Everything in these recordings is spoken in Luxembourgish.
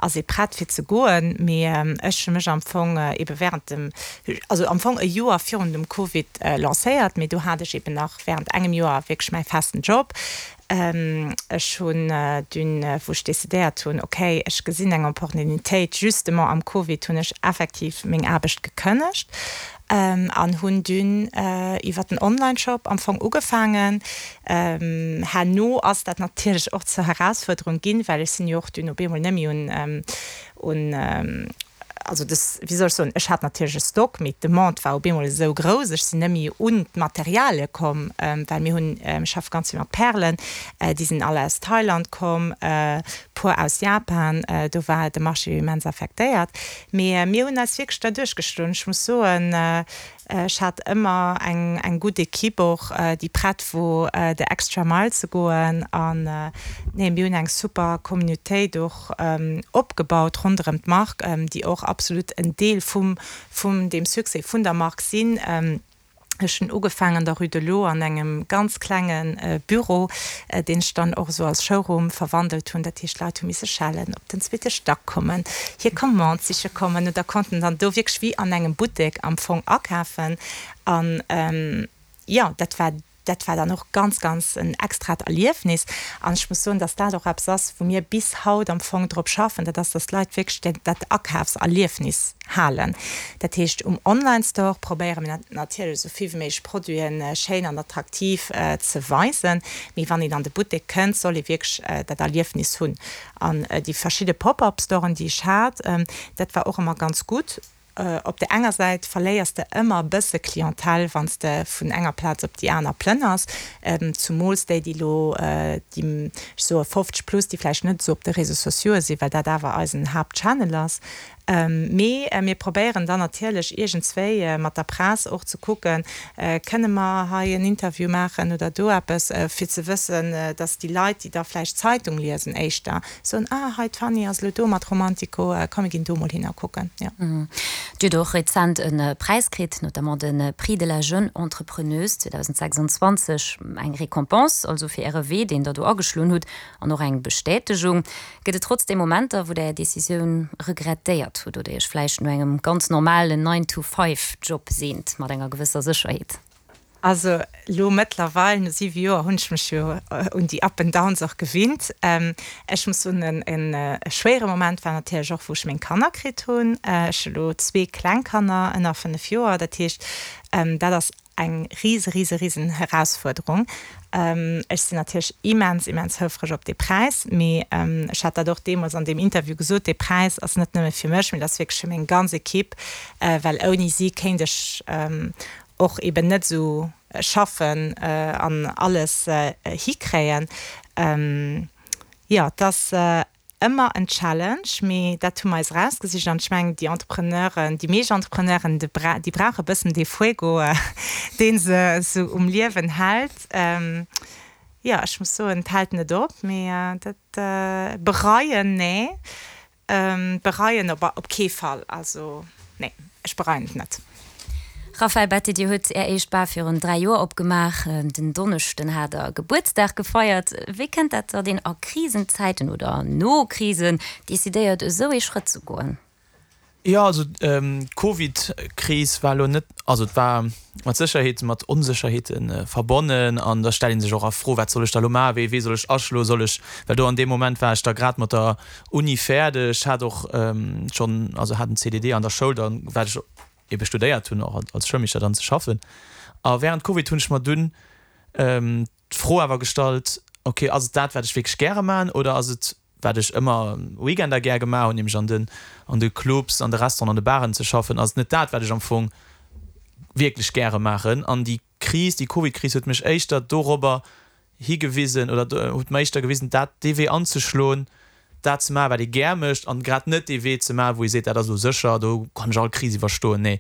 Ass ee prett fir ze goen. Mee ech hu mech am Fong ebe während dem, also am Fong e Joer virun dem Covid lancéiert, mee do hat ech eben nach während engem Joer wierklech mäi festen Job. Ech hunn dunn, wou ech decidéiert hunn, okay, ech gesinn eng Opportunitéit, justement am Covid hunn ech effektiv meng Aarbecht gekënnegt an hunn dunn iwwer den Onlineshop am Fong ugefaangen. Herno ass dat natierlech och zur Herausfuerderung ginn, well ech sinn jo och dunn op eemol net méi un, un, also des, wéi soll ech soen, ech hat natierlech e Stock, mee d'Demande war op eemol esou grouss, ech sinn net méi un d'Materialie komm, well mir hunn, mir schaffe ganz vill mat Pärelen, déi sinn all aus Thailand komm, puer aus Japan, do war de Marché jo immens affektéiert. Mee mir hunn eis wierklech derduerch geschloen. Ech muss soen, Ech hat ëmmer eng eng gutt Equipe och, déi prett wor de extra mile ze goen. An nee, mir hunn eng super Communautéit och opgebaut ronderëm d'Mark, déi och absolut en Deel vum vum deem Succès vun der Mark sinn. Ech hunn ugefaangen an der Rue de l'Eau an engem ganz klenge Büro, deen ech dann och esou als Showroom verwandelt hunn. Dat heescht, d'Leit hu misse schellen, op den zweete Stack kommen, hir Commande siche kommen oder konnten dann do wierklech wéi an engem Buttek am Fong akafen. An jo, dat war, dat war dann och ganz, ganz en extrat Erliefnis. An ech muss soen, dass dat och eppes ass, wou mir bis haut am Fong drop schaffen, dat ass, dass d'Leit wierklech dat Akafserliefnis halen. Dat heescht, um Online-Store probéiere mir natierlech esou vill wéi méiglech Produiten schéin an attraktiv ze weisen, mee wann een an de Buttek kënnt, soll ee wierklech dat Erliefnis hunn. An déi verschidde Pop-up-Storen, déi ech hat, dat war och ëmmer ganz gutt. Op der enger Säit verléiers de ëmmer e bësse Clientèle, wann s de vun enger Plaz op déi aner plënners, zumools déi, déi elo, déi, ech soe 50 plus, déi vläicht net esou op de Réseaux sociaux'e sinn, well dat awer eisen Haaptchannel ass. Mee mir probéieren dann natierlech iergendswéi mat der Press och ze kucken, kënne mer hei en Interview maachen oder do eppes, fir ze wëssen, dass déi Leit, déi da vläicht d'Zeitung liesen, éischter soen, ah hei d'Fanny ass elo do mat Romantico, komm mir ginn do mol hin a kucken. Jo. Dir hutt och rezent e Präis kritt, notamment de Prix de la jeune entrepreneuse 2026, eng Récompense also fir Äre Wee, deen Der do ageschloen hutt, an och eng Bestätegung. Gëtt et trotzdeem Momenter, wou Der Är Decisioun regrettéiert hutt oder Iech vläicht no engem ganz normalen Nine-to-Five-Job seent, mat enger gewësser Sécherheet? Also elo mëttlerweil, no 7 Joer, hunn ech mech jo un déi Up and Downs och gewinnt. Ech muss soen, e schwéiere Moment war natierlech och, wou ech meng Kanner kritt hunn. Ech hu elo zwee kleng Kanner ënner 5 Joer, dat heescht, dat ass Eng rise, rise, risen Herausfuerderung. Ech sinn natierlech immens, immens houfreg op dee Präis, mee ech hat dat och deemools an deem Interview gesot, dee Präis ass net nëmme fir mech, mee dat ass wierklech fir meng ganz Equipe, well ouni si kéint ech och eben net esou schaffen an alles hikréien. Jo, et ass Ëmmer en Challenge, mee dat hu mer eis erausgesicht an ech mengen déi Entrepreneuren, déi meescht Entrepreneuren, déi brauche e bëssen dee Fuego, dee se esou um Liewen hält. Jo, ech muss soen, et hält net op, mee dat bereien, nee, bereien op kee Fall, also nee. Ech bereien et net. Raphaël Betti, Dir hutt Är éischt Bar virun 3 Joer opgemaach. Den Donneschden hat Der Gebuertsdag gefeiert. Wéi kënnt dat, datt een a Krisenzäiten oder no Krisen decidéiert, esou ee Schrëtt ze goen? Jo, also d'Covid-Kris war elo net, also et war mat Sécherheet mat Onsécherheete verbonnen an da stellt ee sech och a Fro, wat soll ech da elo maachen, wéi ee Wee soll ech aschloen, soll ech, well do an deem Moment war ech da grad mat der Uni fäerdeg, hat och schonn, also hat en CDD an der Schoul dann, wat ech ebe studéiert hunn, och als Schoulmeeschter dann ze schaffen. A während Covid hunn ech mer dunn d'Fro awer gestallt, ok, ass et dat, wat ech wierklech gäre maachen oder ass et, wat ech ëmmer Weekender gär gemaach hunn, nämlech an den, an de Clubs, an de Restauranten, an de Baren ze schaffen, ass et net dat, wat ech am Fong wierklech gäre maachen? An déi Kris, déi Covid-Kris huet mech éischter dorobber higewisen oder huet mer éischter gewisen, dat, dee Wee anzeschloen, dat ze maachen, wat ee gär mécht an grad net dee Wee ze maachen, wou ee seet, dat ass elo sécher, do kann ech all Kris iwwerstoen. Nee,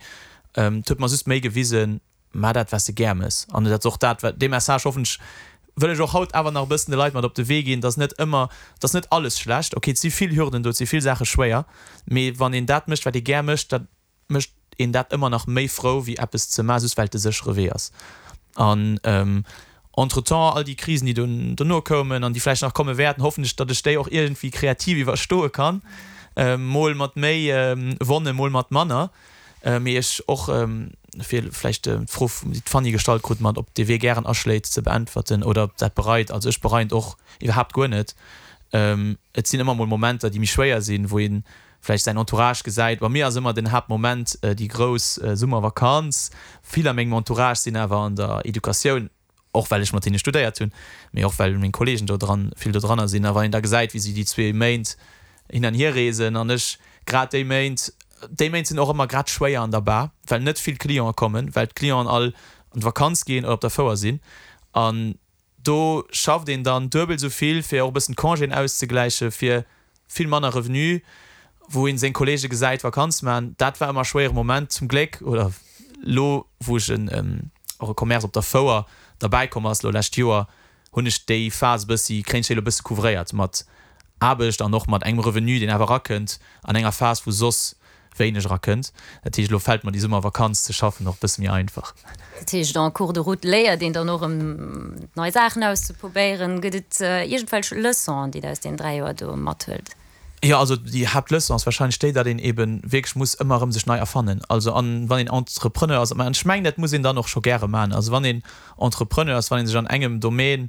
et huet mer just méi gewisen, maach dat, wat s de gär méchs. An dat ass och dat, wat, dee Message hoffen ech, wëll ech och haut awer nach e bëssen de Leit mat op de Wee ginn, dass net ëmmer, dass net alles schlecht, okay, et si vill Hürden do, et si vill Saache schwéier, mee wann een dat mécht, wat ee gär mécht, da mécht een dat ëmmer nach méi frou wéi eppes ze maachen, just well et de séchere Wee ass. An entretemps, all déi Krisen, déi dono koumen an déi vläicht nach komme wäerten, hoffen ech, datt ech déi och iergendwéi kreativ iwwerstoe kann. Mol mat méi Wonne, mol mat manner. Mee ech och, fir vläicht d'Fro, déi d'Fanny gestallt krut, mat ob de Wee gären aschléit, ze beäntwerten oder ob dat bereit. Also ech bereien et och iwwerhaapt guer net. Et sinn ëmmer mol Momenter, déi méi schwéier sinn, wou ee vläicht säin Entourage gesäit. Bei mir ass ëmmer den Haaptmoment déi grouss Summervakanz. Vill a mengem Entourage sinn awer an der Educatioun. Och well ech mat hinne studéiert hunn, mee och well meng Kolleegen do dran, vill do dranner sinn. A wann een da gesäit, wéi si déi zwee Méint hin an hier reesen an ech grad déi Méint, déi Méint sinn och ëmmer grad schwéier an der Bar, well net vill Clientë kommen, well d'Clienten all an d'Vakanz ginn oder op der Fouer sinn. An do schafft een dann duebel esou vill, fir och e bëssen d'Congéen auszegläichen, fir vill manner Revenu, wou een seng Kollege gesäit Vakanz man, dat war ëmmer e schwéiere Moment. Zum Gléck, oder lo wou ech en och e Commerce op der Fouer derbäi komm ass lo lescht Joer, hunn ech déi Phas e bëssi, kréien ech déi lo e bësse couvréiert mat Aarbecht an och mat engem Revenu deen awer erakënnt an enger Phas wou soss wéineg erakënnt. Dat heescht, elo fält mer déi Summervakanz ze schaffen och e bësse méi einfach. Dat heescht, en cours de route léiert een dann och erëm nei Saachen auszeprobéieren. Gëtt et iergendwelch Leçonen, déi Der aus deenen 3 Joer do mathuelt? Jo, also déi Haaptleçon ass warscheinlech déi, datt een eebe wierklech muss ëmmer erëm sech nei erfannen. Also an wann een Entrepreneur ass, an ech mengen, dat muss een dann och scho gäre maachen, also wann een Entrepreneur ass, wann ee sech an engem Domaine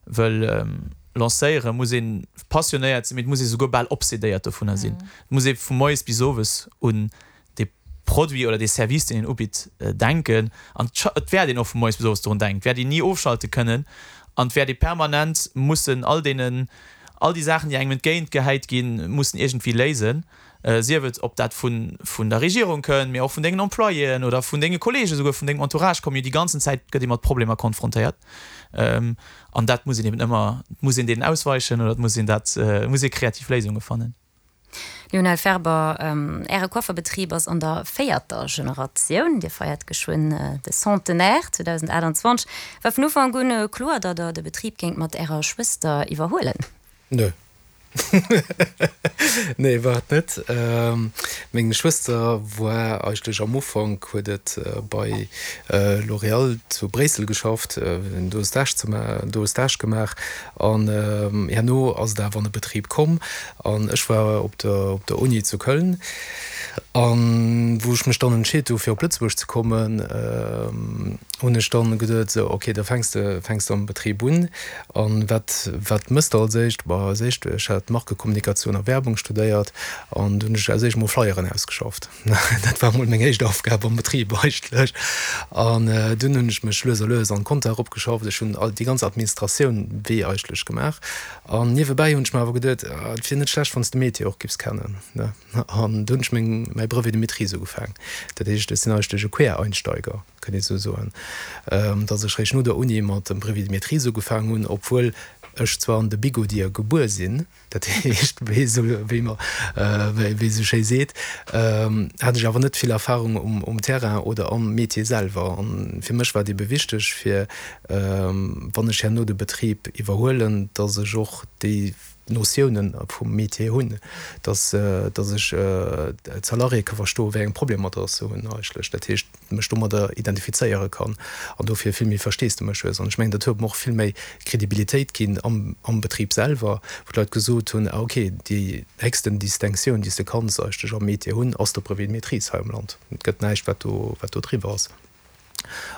wëll lancéieren, muss ee passionéiert sinn, mee et muss ee souguer bal obsedéiert dovunner sinn. Et muss ee vu moies bis owes un dee Produit oder dee Service, deen een ubitt, denken. An et wäert een och vu moies bis owes dorun denken. Et wäert een ni ofschalte kënnen an et wäert ee permanent mussen all deenen, all déi Saachen, déi engem entgéint gehäit ginn, mussen iergendwéi léisen. Sief et, ob dat vun der Regierung kënnt, mee och vun dengen Employéen oder vun denge Kollegen, esouguer vun dengem Entourage kommen jo déi ganzen Zäit gëtt ee mat Problemer konfrontéiert. An dat muss een eben ëmmer, et muss een deenen ausweichen oder et muss een dat, et muss ee kreativ Léisunge fannen. Lionel Ferber, Äre Coifferbetrib ass an der véierter Generatioun. Dir feiert geschwënn de Centenaire 2028. War vun Ufank un kloer, datt Der de Betrib géingt mat Ärer Schwëster iwwerhuelen? Nö. Nee, war et net. Meng Schwëster war eigentlech am Ufank, huet et bei L'Oréal zu Bréissel geschafft, do e Stage ze do e Stage gemaach an herno ass et awer an de Betrib komm an ech war op der op der Uni zu Köln an wou ech mech dann entscheet hu fir op Lëtzebuerg ze kommen, hunn ech dann geduet, sou ok, da fänks de fänks de am Betrib un. An wat, wat mëss de als éischt? Bah, als éischt, ech hat Markekommunikatioun a Werbung studéiert an du hunn ech als éischt mol Flyeren ausgeschafft. Dat war mol meng éischt Aufgab am Betrib eigentlech. An dunn hunn ech mech lues a lues an d'Compta eropgeschafft. Ech hunn all déi ganz Administratioun wéi eigentlech gemaach. An niewebäi hunn ech mer awer geduet, ah, et wier net schlecht, wann s de Métier och giffs kennen, ne? An du hunn ech meng, mäi Brevet de maîtrise ugefaang. Dat heescht, ech sinn eigentlech e Quereinsteiger. kënnt ee sou soen, datt ech réischt no der Uni mat dem Brevet de maîtrise ugefaang hunn, obwuel ech zwar an de Bigodier gebuer sinn, dat heescht, wéi esou, wéi mer, wéi ee sou schéi seet, hat ech awer net vill Erfahrung um Terrain oder am Métier selwer. An fir mech war et ebe wichteg, fir, wann ech herno de Betrib iwwerhuelen, datt ech och déi Notiounen vum Métier hunn, datt, datt ech d'Salariéë ka verstoen, wéi eng Problemer datt se hunn eigentlech. Dat heescht, mech domadder identifizéiere kann an dofir vill méi Versteesdemech hues. An ech mengen, dat huet mer och vill méi Kredibilitéit ginn am, am Betrib selwer, wou d'Leit gesot hunn, ah okay, déi héchsten Distinctioun, déi s de kanns eigentlech am Métier hunn, ass de Brevet de maîtrise hei am Land. Et gëtt näischt, wat do, wat do driwwer ass.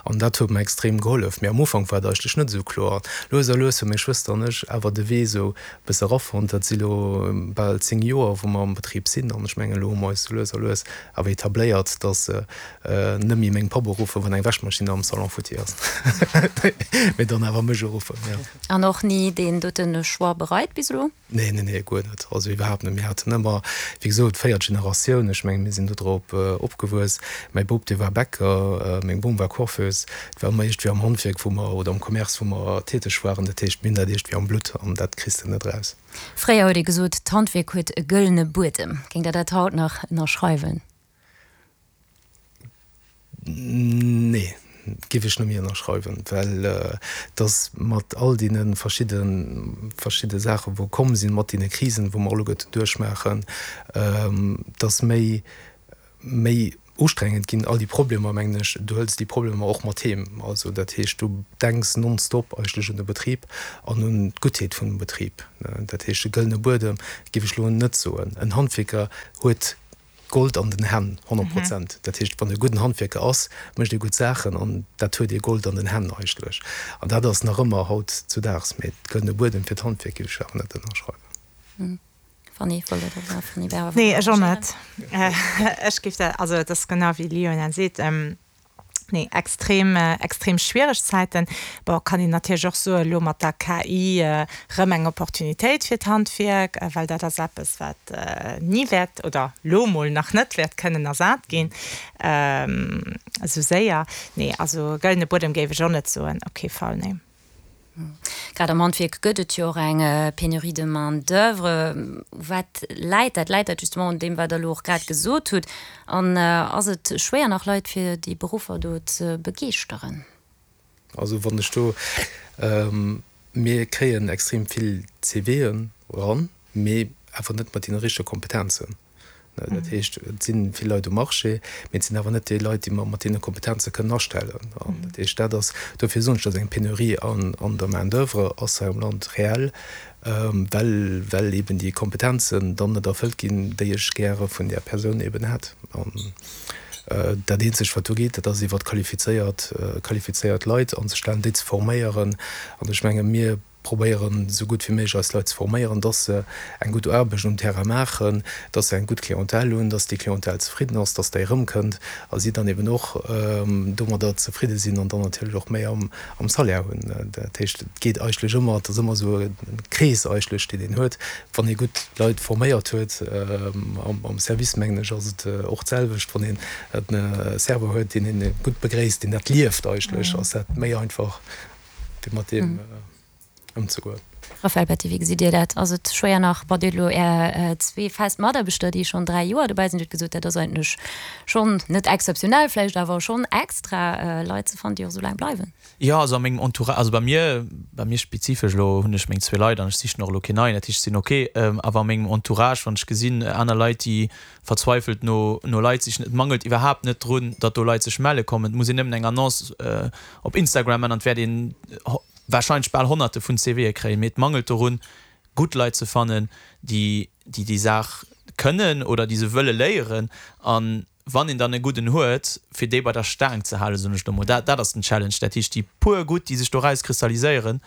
An dat huet mer extrem gehollef. Mee am Ufank war et eigentlech net esou kloer. Lues a lues hu meng Schwëster an ech awer de Wee esou e bësse erafonnt. Dat si lo bal 10 Joer, wou mer am Betrib sinn. An ech mengen, elo hu mer eis esou lues a lues awer etabléiert, dass se net méi meng Papp uruffen, wann eng Wäschmaschinn am Salon futti ass, mee dann awer mech uruffen, jo. An och ni deen dote Choix bereit bis elo? Nee, nee, nee, guer net. Also iwwerhaapt net. Mir haten ëmmer, wéi gesot, véiert Generatioun. Ech mengen, mir sinn do drop opgewuess. Mäi Bop, dee war Bäcker, meng Bom war Coiffeuse. Et war ëmmer iergendwéi am Handwierk, wou mer, oder am Commerce, wou mer täteg waren. Dat heescht, mir hunn dat iergendwéi am Blutt an dat kriss de net eraus. Fréier huet ee gesot, d'Handwierk huet e gëllene Buedem. Géingt Der dat haut nach ënnerschreiwen? Nee, géif ech net méi ënnerschreiwen, well et ass mat all deene verschidde verschidde Saache wou komm sinn, mat deene Krisen, wou mer alleguerten duerchmaachen, et ass méi méi. Ustrengend ginn all déi Problemer, mengen ech. Du hëls déi Problemer och mat heem. Also dat heescht, du denks nonstop eigentlech un de Betrib an un d'Guttheet vun dem Betrib. Dat heescht, e gëllene Buedem géif ech elo net soen. En Handwierker huet Gold an den Hänn, 100 Prozent. Dat heescht, wann e gudden Handwierker ass, mécht e gutt Saachen an dat huet ee Gold an den Hänn eigentlech. An dat ass nach ëmmer haut zu Daags. Mee gëllene Buedem fir d'Handwierk géif ech awer net ënnerschreiwen. Fanny, wollt Der dat nach, Fanny Berger? Nee, ech och net. Ech géif dat, also et ass genau wéi Lionel seet, nee, extrem, extrem schwiereg Zäiten. Bon, kann een natierlech och soen, elo mat der KI erëm eng Opportunitéit fir d'Handwierk, well dat ass eppes, wat ni wäert oder elo mol nach net wäert kënnen ersat ginn esou séier. Nee, also gëllene Buedem géif ech och net soen, op kee Fall, nee. Grad am Handwierk gëtt et jo och eng Pénurie de main d'oeuvre. Wat läit dat? Läit dat justement un deem, wat Der elo och grad gesot hutt? An ass et schwéier nach Leit fir déi Beruffer do ze begeeschteren? Also wann ech do, mir kréien extrem vill CVen eran, mee awer net mat deene richtege Kompetenzen. Dat heescht, et si vill Leit um Marché, mee et sinn awer net déi Leit, déi mer mat deene Kompetenze kënnen astellen. An dat heescht, dat ass, dofir soen ech, dass eng Penurie an der Main d'oeuvre ass hei am Land reell, well, well eben déi Kompetenzen dann net erfëllt ginn, déi ech gäre vun där Persoun eben hätt. An dat eenzegt, wat do geet, dat ass iwwer qualifizéiert, qualifizéiert Leit anzestellen, déi ze forméieren. An ech menge mir probéieren esou gutt wéi méiglech eis Leit ze forméieren, dass se eng gutt Aarbecht um Terrain maachen, dass se eng gutt Clientèle hunn, dass déi Clientèle zefridden ass, dass déi erëmkënnt a si dann eben och domadder zefridde sinn an dann natierlech och méi am Salaire hunn. Dat heescht, et geet eigentlech ëmmer, et ass ëmmer esou e Krees eigentlech, deen een huet, wann ee gutt Leit forméiert huet. Am Service, mengen ech, ass et och d'selwecht, wann een e Serveur huet, deen ee gutt begréisst, deen dat lieft eigentlech, ass dat méi einfach fir mat deem ëmzegoen. Raphaël Betti, wéi gesitt Dir dat? Ass et schwéier nach, bon, Dir hutt elo Är zwee fest Mataarbechter, déi schonn 3 Joer dobäi sinn, Dir hutt gesot, dat ass eigentlech schonn net exzeptionell, vläicht awer schonn extra, Leit ze fannen, déi och esou laang bleiwen? Jo, also a mengem Entourage, also bei mir, bei mir spezifesch elo hunn ech meng zwee Leit an ech sichen och elo keen neien, dat heescht, ech sinn ok. Awer a mengem Entourage, wann ech gesinn, aner Leit, déi verzweifelt no no Leit sichen. Et mangelt iwwerhaapt net drun, datt do Leit sech melle kommen. Et muss een nëmmen eng Annonce op Instagram man an et wäert een warscheinlech bal Honnerte vun CVe kréien. Mee et mangelt dorun, gutt Leit ze fannen, déi déi déi Saach kënnen oder déi se wëlle léieren. An wann een dann e gudden huet, fir dee bei der Staang ze halen, soen ech elo mol, dat dat ass den Challenge. Dat heescht, déi puer gutt, déi sech do rauskristalliséieren,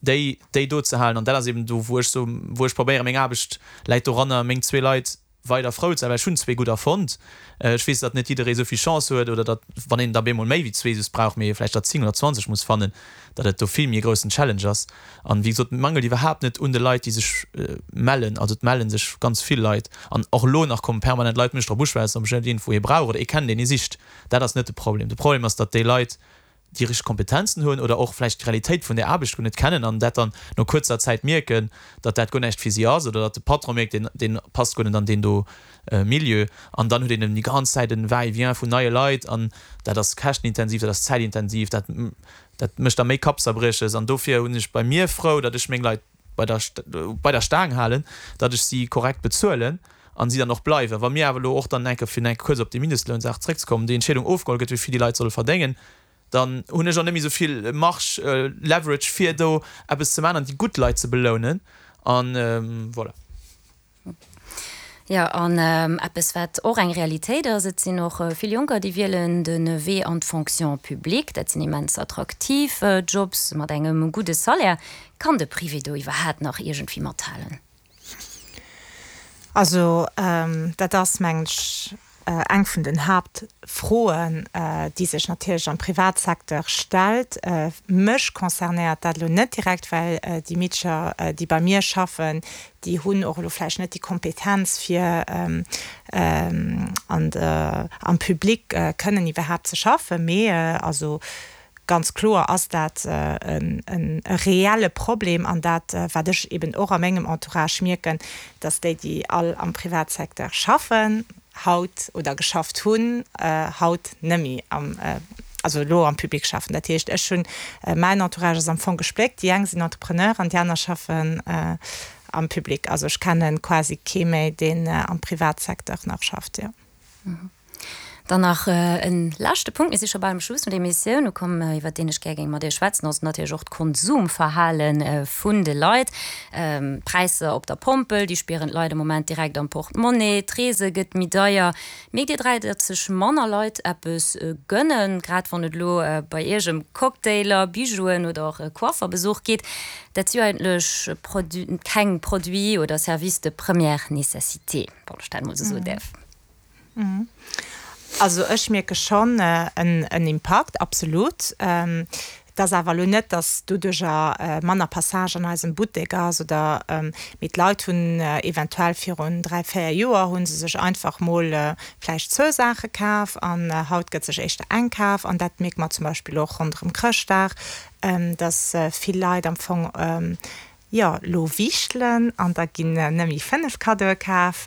déi déi do ze halen. An dat ass eben do, wou ech so, wou ech probéieren, meng Aarbecht läit doranner, meng zwee Leit weider frou ze sein, well ech hunn zwee gudder fonnt. Ech weess, datt net jidderee esou vill Chance huet oder datt, wann een der bemol méi wéi zwee just brauch, mee vläicht der 10 oder 20 muss fannen, datt et do vill méi e groussen Challenge ass. An, wéi gesot, et mangelt iwwerhaapt net un de Leit, déi sech mellen. Also et melle sech ganz vill Leit an och elo nach komme permanent Leit mech drop uschwätzen, ob ech net iergendwou ee brauch oder ee kennen, deen ee sicht. Dat ass net de Problem. De Problem ass, datt déi Leit déi richteg Kompetenzen hunn oder och vläicht d'Realitéit vun där Aarbecht guer net kennen an dat dann no kuerzer Zäit mierken, datt dat guer näischt fir si ass oder datt de Patron mierkt, deen, deen passt guer net an deen do Milieu an dann huet een eben déi ganz Zäit en Va-et-vient vun neie Leit an dat ass käschtenintensiv, dat ass zäitintensiv, dat, dat mécht da méi Kappzerbrieches an dofir hunn ech bei mir frou, datt ech meng Leit bei der, bei der Staang halen, datt ech si korrekt bezuelen an si dann och bleiwen. Wa mir awer elo och dann enke, fir enke kuerz op déi Mindestlounsaach zréckzekommen, déi Entscheedung ofgeholl gëtt, wéi vill déi Leit solle verdéngen, dann hunn ech och net méi esou vill Marge, Leverage, fir do eppes ze maachen an déi gutt Leit ze belounen. An voilà. Jo, an eppes, wat och eng Realitéit ass, Et sinn och vill Jonker, déi wielen de Wee an d'Fonction publique. Dat sinn immens attraktiv Jobs mat engem gudde Salaire. Kann de Privé do iwwerhaapt nach iergendwéi mathalen? Also dat ass, mengen ech, eng vun den Haaptfroen, déi sech natierlech am Privatsecteur stellt. Mech concernéiert dat elo net direkt, well déi Meedercher, déi bei mir schaffen, déi hunn och elo vläicht net déi Kompetenz, fir an der, am Public kënnen iwwerhaapt ze schaffen. Mee also ganz kloer ass dat e reelle Problem an dat, wat ech eben och a mengem Entourage mierken, dass déi, déi all am Privatsecteur schaffen haut oder geschafft hunn, haut nëmme am, also elo am Public schaffen. Dat heescht, ech hunn, mäin Entourage ass am Fong gespléckt, déi eng sinn Entrepreneur an déi aner schaffen am Public. Also ech kenne quasi kee méi, deen am Privatsecteur nach schafft, jo. Dann nach e leschte Punkt, mir si scho bal um Schluss vun der Emissioun ukomm, iwwert deen ech gär géing mat Iech schwätzen, ass natierlech och d'Konsumverhale vun de Leit. D'Präisser op der Pompel, déi spieren d'Leit am Moment direkt am Portemonnaie, d'Reese gëtt méi deier. Mierkt Dir 3, datt sech manner Leit eppes gënnen, grad wann et elo bei Iech ëm Cocktailer, Bijouen oder och e Coifferbesuch geet? Dat si jo eigentlech keng Produits oder Services de première nécessité, wann ech dat emol esou soen däerf. Also ech mierke schonn en Impakt, absolut. Et ass awer elo net, datt doduercher manner Passage an eisem Buttek ass oder, mee d'Leit hunn eventuell virun 3, 4 Joer hu se sech einfach mol vläicht zwou Saache kaf an haut gëtt sech éischter eng kaf. An dat mierke mer zum Beispill och ronderëm Chrëschtdag, datt vill Leit am Fong Jo, lo wiichtelen an da ginn nëmme 5 Kaddoe kaf,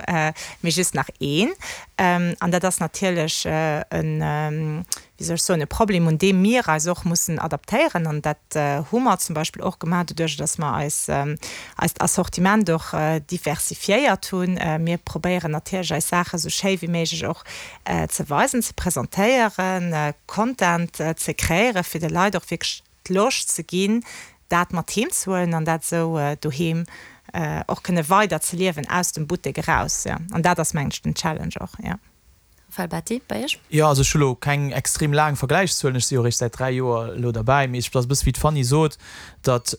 mee just nach een. An dat ass natierlech en, wéi soll ech soen, e Problem, un deem mir eis och mussen adaptéieren. An dat hu mer zum Beispill och gemaach, doduerch datt mer eis, eist Assortiment och diversifiéiert hunn. Mir probéieren natierlech eis Saache sou schéi wéi méiglech och ze weisen, ze presentéieren, Content ze kreéieren, fir de Leit och wierklech d'Loscht ze ginn, dat mat heem ze huelen an dat esou doheem och kënne weider ze liewen, aus dem Buttek eraus. Jo, an dat ass, mengen ech, den Challenge och, jo. Raphaël Batty, bei Iech? Jo, also ech hu lo keng extrem laang Vergläichszuelen, ech si jo eréischt säit 3 Joer elo derbäi, mee ech ass e bësse wéi d'Fanny sot, datt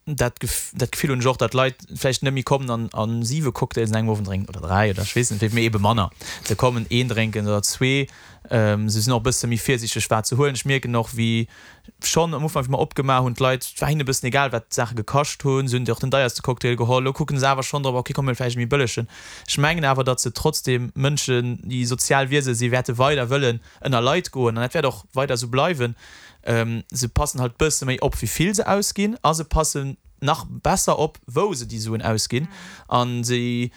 dat dat Gefill hunn ech och, datt Leit vläicht net méi kommen an a siwe Cocktails an engem Owend drénken oder 3 oder ech weess net wéi, mee ebe manner. Se kommen een drénken oder zwee. Se sinn och e bësse méi virsiichteg wat se huelen. Ech mierken och wéi schonn am Ufank wéi mer opgemaach hunn, d'Leit, et war hinnen e bëssen egal wat d'Saache gekascht hunn, se hunn och den deierste Cocktail geholl. Elo kucken se awer schonn drop, ok komm mir huele vläicht e méi bëllegen. Ech mengen awer, datt se trotzdeem Mënschen déi sozial Wiese si wäerte weider wëllen ënner Leit goen an dat wäert och weider esou bleiwen. Se passen halt bësse méi op wéi vill se ausginn a se passen nach besser op wou se déi Suen ausginn an si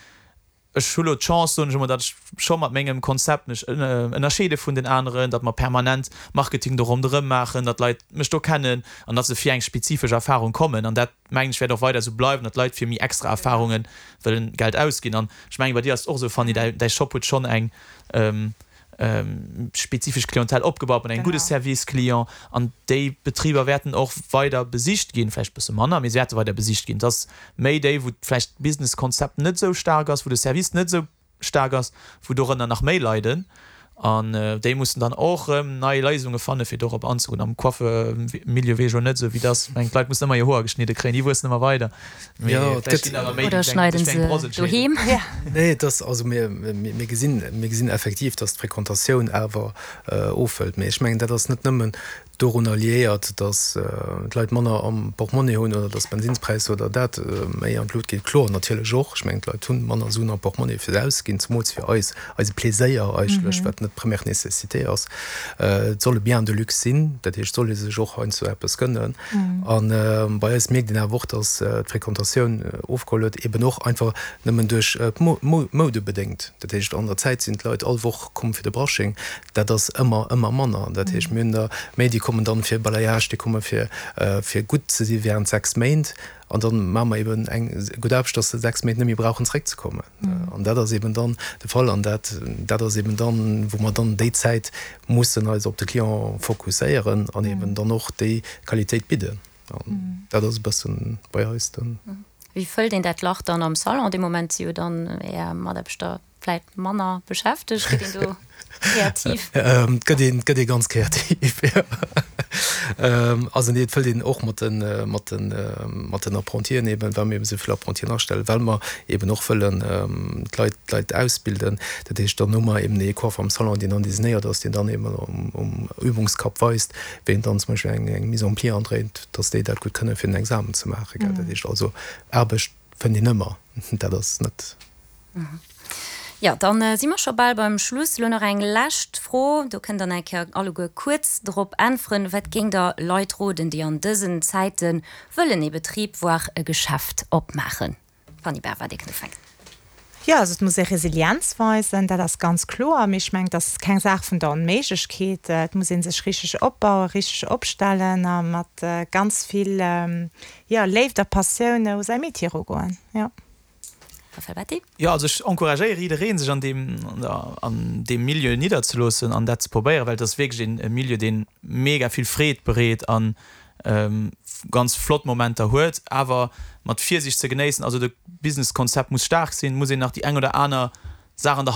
Ech hu lo d'Chance, soen ech emol, datt ech scho mat mengem Konzept mech ënnerscheede vun den aneren, datt mer permanent Marketing do ronderëm maachen, datt d'Leit mech do kennen an datt se fir eng spezifesch Erfarung kommen. An dat, mengen ech, wäert och weider esou bleiwen, datt d'Leit fir méi extra Erfarunge wëllen Geld ausginn. An ech mengen, bei dir ass et och esou, Fanny, däi Shop huet schonn eng spezifesch Clientèle opgebaut mat engem gudde Service client an déi Betriber wäerten och weider besicht ginn, vläicht e bësse manner, mee se wäerte weider besicht ginn. Et ass méi déi, wou vläicht d'Businesskonzept net esou staark ass, wou de Service net esou staark ass, wou dorënner nach méi leiden an déi mussen dann och erëm nei Léisunge fanne fir dorop anzegoen. Am Coiffe-Milieu weess ech elo net esou wéi et ass, ech mengen d'Leit mussen ëmmer hir Hoer geschnidde kréien, déi wuessen ëmmer weider. Jo, et gëtt. Oder schneiden se doheem. Nee, et ass, also mir, mir gesinn, mir gesinn effektiv, datt d'Fréquentatioun awer ofhëlt. Mee ech mengen, dat ass net nëmmen dorunner liéiert, datt d'Leit manner am Portmonnie hunn oder datt d'Bensinnspräisser oder dat méi an d'Lut geet. Kloer, natierlech och. Ech mengen, d'Leit hu manner Suen am Portmonnie fir se auszeginn, zemools fir eis, eise Pleséier eigentlech, wat net première nécessité ass. Et soll e Bien de luxe sinn, dat heescht, et soll ee sech och heiansdo eppes gënnen. A bei eis mierkt een awer och, datt d'Fréquentatioun ofgeholl huet, eben och einfach nëmmen duerch d'Moude bedéngt. Dat heescht, an der Zäit sinn d'Leit all Woch komm fir de Brushing. Dat ass ëmmer, ëmmer manner. Dat heescht, mir hunn der méi, déi kommen dann fir Balayage, déi komme fir, fir gutt ze si während 6 Méint. An dann maache mer eben eng gutt Aarbecht, datt se 6 Méint net méi brauchen zeréckzekommen. An dat ass eben dann de Fall. An dat, dat ass eben dann, wou mer dann déi Zäit mussen eis op de Client fokusséieren an eben dann och déi Qualitéit bidden. An dat ass e bëssen bei eis den. Wéi fëllt een dat Lach dann am Salon? Dee Moment si jo dann Är Mataarbechter vläit manner beschäftegt. Gëtt een do kreativ? Et gëtt een, et gëtt ee ganz kreativ, jo. Also nee, et fëllt een och mat den, mat den, mat den Apprentien eben, well mir eben esou vill Apprentien astellen, well mer eben och wëllen d'Leit, d'Leit ausbilden. Dat heescht, dann hu mer eben ee Coiffer am Salon, deen dann designéiert ass, deen dann eben um, um Übungskapp weist, wéi een dann zum Beispill eng, eng Mise en pli andréint, dass déi dat gutt kënnen, fir den Examen ze maachen, gell. Dat heescht also, Aarbecht fënnt een ëmmer, dat ass net. Jo, dann si mer scho bal beim Schluss. Elo nach eng lescht Fro, do kënnt Der eng Kéier alleguer kuerz drop äntweren. Wat géingt Der Leit roden, déi an dësen Zäite wëllen ee Betrib, voire e Geschäft opmaachen? Fanny Berva, Dir kënnt ufänken. Jo, also et muss ee Resilienz weisen, dat ass ganz kloer. Mee ech mengen, et ass keng Saach vun der Onméiglechkeet. Et muss ee sech richteg opbauen, richteg opstellen a mat ganz vill, jo, Léift a Passioun u säi Metier erugoen, jo. Raphaël Batty? Jo, also ech encouragéiere jiddereen, sech an deem, an deem Milieu nidderzeloossen an dat ze probéieren, well et ass wierklech een e Milieu, dee mega vill Freed bereet an ganz flott Momenter huet, awer mat Virsiicht ze genéissen. Also de Businesskonzept muss staark sinn, muss een nach déi eng oder aner Saach an der Hand.